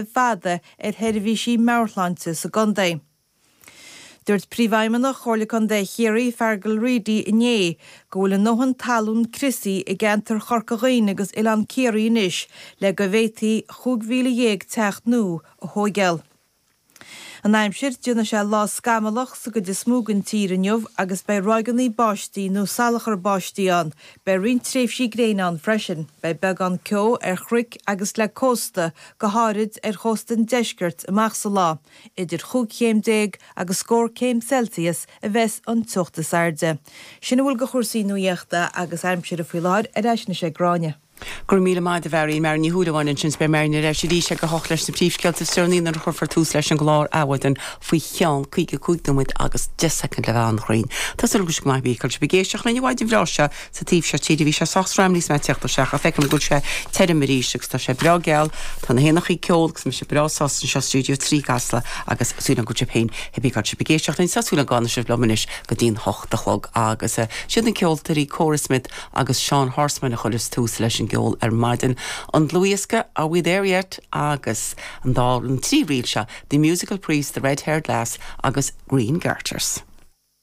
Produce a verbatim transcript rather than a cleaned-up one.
fada ar sheirbhísí meabhairshláinte sa gcontae. Dúirt Príomhfheidhmeannach Chomhairle Contae Chiarraí Feargal Reidy inné go bhfuil a ndóthain talún criosaithe i gceantar Chorca Dhuibhne agus Oileán Ciarraí anois le go bhféadfaí chúig mhíle dhéag teach nua a thógáil. An aimsir déanfaidh sé lá scamallach sa gcuid is mó den tír inniu agus beidh ráigeanna báistí nó salachar báistí ann, beidh roinnt tréimhsí gréine ann freisin, beidh beagán ceo ar chnoic agus le cósta go háirid ar chósta an deiscirt amach sa lá, idir chúig chéim déag agus scór céim Celsius a bheas an teocht is airde. Sin a bhfuil de chúrsaí nuachta agus aimsire faoi láthair ar ais anois ag Gráinne. Gur míle maith agat a Mharion Mar ní thuúlaháin sin be mar leis arís ag a hocht leis na príomhscéalta is deireanaí nuair a chuirfear tús leis an gclár Adhmhaidin faoi cheann caoga cúig nóiméad agus deich soicind le bheith an Tá súil go maith bí be géisteach lena bhaid bhreá sa taobh seo tíre bhí sé sách trom níos mé teachta seach a feiceann go sé tirim arís agus tá sé breá geal tá na héanacha ag ceol agus mise breá sásta anseo stiúideo trí Casla agus súil go féin he bí be géisteach linn sasúla gána sibh lomanis go dtí'n hocht a chlog agus siad na ceoltóirí Cora Smith agus Sean Horseman a chuireas tús leis an gceol ar maidin. An dlúthdhiosca Are We There Yet agus an dá an trí ríl seo, The Musical Priest, The Red-Haired Lass agus Green Garters.